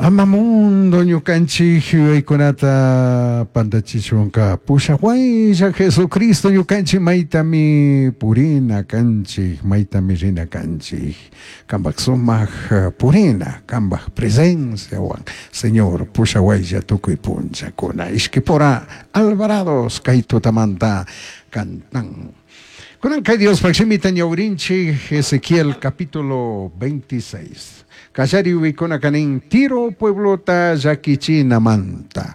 Ama mundo ñukanchik yuyaykunata pantachichunka pushahuaylla Jesucristo ñukanchik maytami purina kanchik, maytami rina kanchik. Kampak sumak purina, kampak presenciawan, Señor, pushahuaylla tukuy punllakuna. Ishkipura Alvarados kay tutamanta cantan. Kunan kay Diospaj shimita ñawrinchik Ezequiel capítulo 26. Kallari uykuna kanin Tiro pueblota llakichinamanta.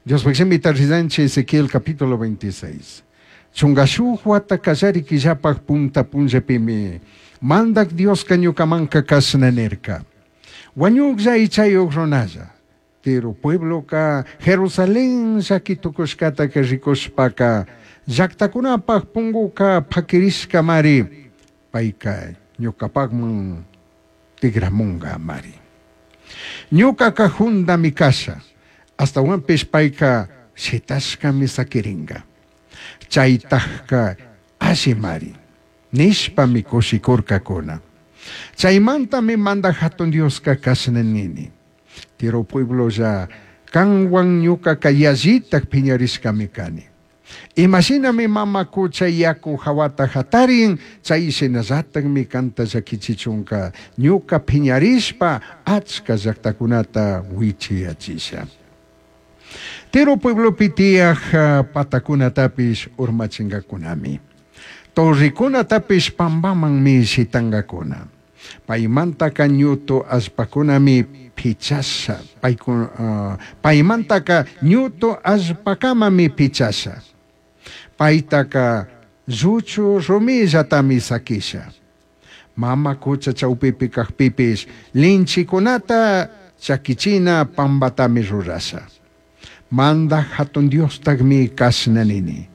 Diospaj shimita rizanchik Ezequiel capítulo 26. Chunga shuj wata kallari killapaj punta punllapimi mandak Dioska ñukamanka kashna nirka. Wañuklla ichayuq runalla. Tiro puebloka Jerusalén llakitukushkataka rikushpaka llaktakunapaj punguka pakirishkamari payka ñukapakman tigramunga mari. Ñukaka jundami kasha, astawanpish payka shitashkami sakiringa. Chaytajka allimari, nishpami kushikurkakuna. Chaymantami mandak hatun Dioska kashna nini. Tiro pueblolla kanwan ñukaka yallitak piñarishkami kani. Imashinami mama kucha yaku hawata hatarin, chay shinallatakmi kanta llakichichunka ñuka piñarishpa achka llaktakunata wichiyachisha. Tiro pueblopi tiyaj patakunatapish urmachinkakunami. Torrikunatapish pampamanmi shitankakuna. Paymantaka ñutu allpakunami pichasha. Paymantaka ñutu allpakamami pichasha. Paytaka lluchu rumillatami sakisha. Mama kucha chawpipi kajpipish linchikunata chakichina pambatami rurasha. Mandak hatun Diostakmi kashna nini.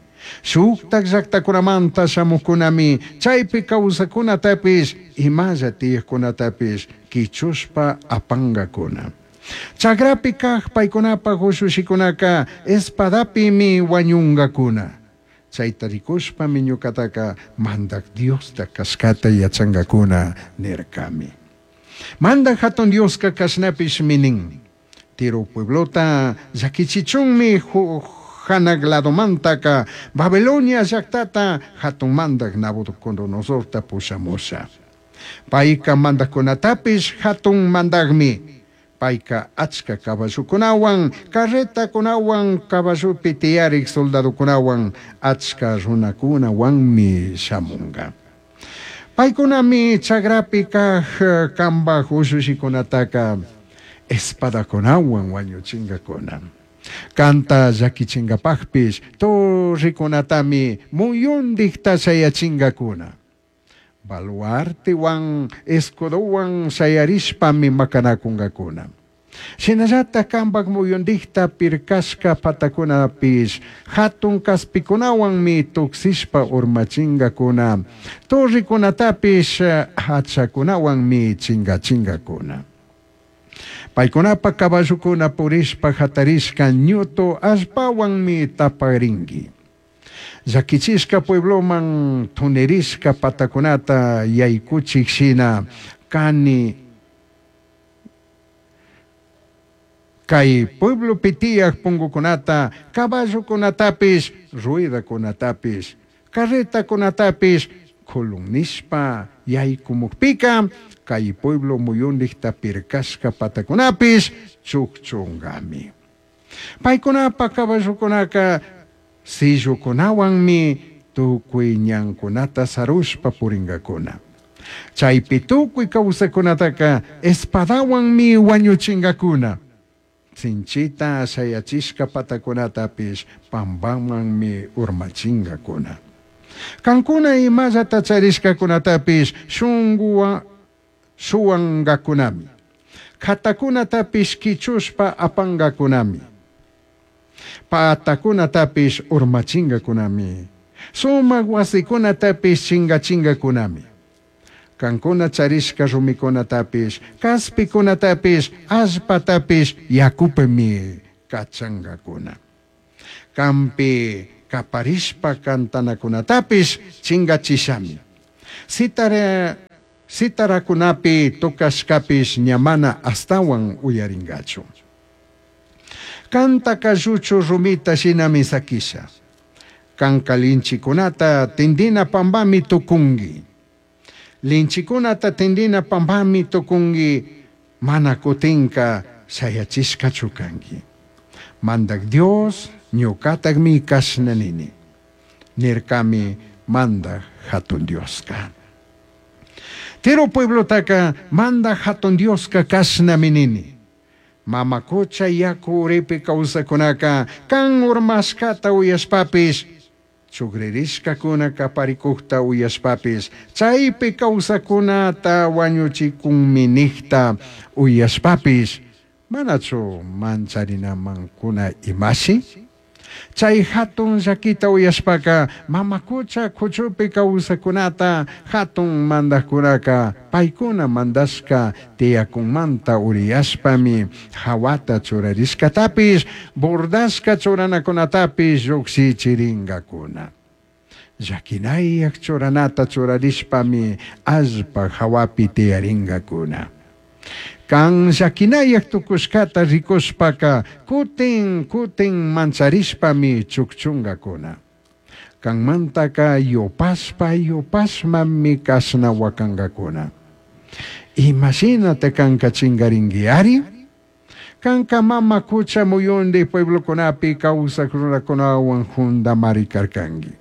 Shuktak llaktakunamanta shamukunami chaypi kawsakunatapish imalla tiyaqkunatapish kichushpa apankakuna. Chakrapi kaq paykunapaj ushushikunaka espadapimi wañunkakuna. Chayta rikushpami ñukataka mandak Diosta kashkata yachankakuna nirkami. Mandak hatun Dioska kashnapishmi nin. Tiro pueblota llakichichunmi hanak ladomantaka Babilonia llaktata hatun mandak Nabucodonosorta pushamusha. Payka mandakkunatapish hatun mandakmi. Payka achka caballokunawan, carretakunawan, caballopi tiyarik soldadokunawan, achka runakunawanmi shamunga. Paykunami chakrapi kaq kambaj ushushikunataka espadakunawan wañuchinkakuna. Kanta llakichinkapajpish torrikunatami muyundikta shayachinkakuna. Baluartewan escudowan shayarishpami makanakunkakuna. Shinallatak kampak muyundikta pirkashka patakunapish hatun kaspikunawanmi tuksishpa urmachinkakuna. Torrikunatapish hachakunawanmi chingachinkakuna. Paykunapa caballukuna purishpa hatarishka ñutu allpawanmi taparinki. Llakichishka puebloman tunirishka patakunata yaykuchik shina kani kay pueblopi tiyaq pungukunata, caballokunatapish, ruedakunatapish, carretakunatapish kulun nishpa yaykumukpika kay pueblo muyundikta pirkashka patakunapish chukchunkami. Paykunapa caballokunaka sillukunawanmi tukuy ñankunata sarushpa purinkakuna. Chaypi tukuy kawsakunataka espadawanmi wañuchinkakuna. Sinchita shayachishka patakunatapish pampamanmi urmachinkakuna. Kankuna imallata charishkakunatapish shunkuwan shuwankakunami. Katakunatapish kichushpa apankakunami. Patakunatapish urmachinkakunami. Sumak wasikunatapish chinkachinkakunami. Kankuna charishka rumikunatapish, kaspikunatapish, allpatapish yakupimi kachankakuna. Kampi kaparishpa kantanakunatapish chinkachishami. Citaracunapi tocashcapish ña mana ashtahuan uyaringachu. Cantaca lluchu rumita shinami saquisha. Canca linchicunata tindina pambami tucungui. Linchicunata tindina pambami tucungui, mana cutinca shayachishcachu cangui. Mandaj Dios ñucatajmi cashna nini, nircami Mandaj Jatun Diosca. Tiro pueblotaca Mandaj Jatun Diosca cashnami nini. Mama cucha yacu uripi causacunaca can urmashcata uyashpapish, chugririshcacuna caparicujta uyashpapish, chaipi causacunata huañuchicunmi nijta uyashpapish, manachu mancharinaman imashi? Chai jatun llaquita uyashpaca mama cucha cuchupi causacunata jatun mandajcunaca paicuna mandashca tiyacunmanta uriyashpami jahuata churarishcatapish bordashca churanacunatapish llujshichiringacuna. Llaquinayaj churanata churarishpami allpa jahuapi tiyaringacuna. Can llaquinayaj tucushcata ricushpaca cutin cutin mancharishpami chugchungacuna. Canmantaca yupashpa yupashmami cashna huacangacuna. Imashinata canca chingaringuiari? Canca mama cucha muyundi pueblocunapi causaj runacunahuan jundamari carcangui.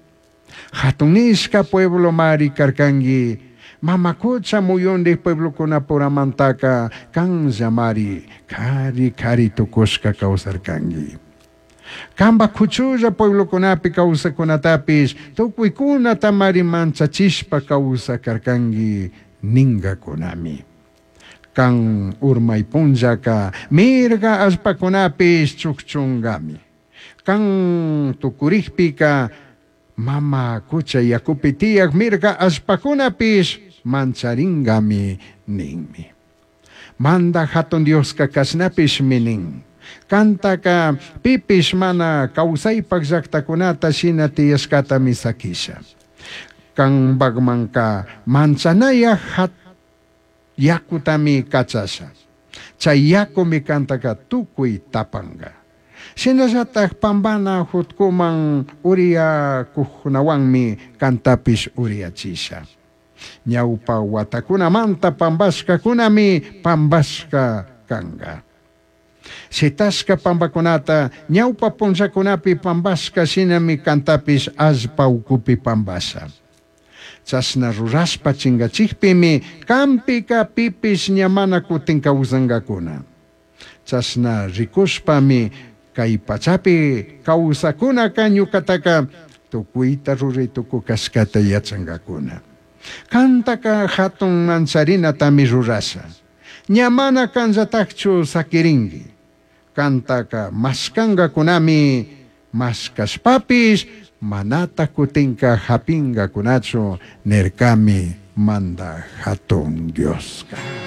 Jatun nishca pueblomari carcangui. Mama cucha muyundi pueblocunapuramantaca canllamari cari cari tucushca causarcangui. Canba cuchulla pueblocunapi causacunatapish tucuicunatamari manchachishpa causacarcangui ningacunami. Can urmai punllaca mirga allpacunapish chugchungami. Can tucurijpica mama cucha yacupi tiyaj mirga allpacunapish mancharingami ninmi. Mandaj Jatun Diosca cashnapishmi nin. Cantaca pipish mana causaipac llactacunata shina tiyashcatami saquisha. Canpacmanca manchanayaj yacutami cachasha. Chay yacumi cantaca tucui tapanga. Shinallataj pambana jutcuman uriyacujunahuanmi cantapish uriyachisha. Ñaupa huatacunamanta pambashcacunami pambashca canga. Shitashca pambacunata ñaupa punllacunapi pambashca shinami cantapish allpa ucupi pambasha. Chashna rurashpa chingachijpimi canpica pipish ña mana cutin causangacuna. Chashna ricushpami cai pachapi causacunaca ñucataca tucuita rurai tucucashcata yachangacuna. Cantaca jatun mancharinatami rurasha. Ña mana canllatajchu saquiringui. Cantaca mashcangacunami mashcashpapish manata cutinca japingacunachu nircami Mandaj Jatun Diosca.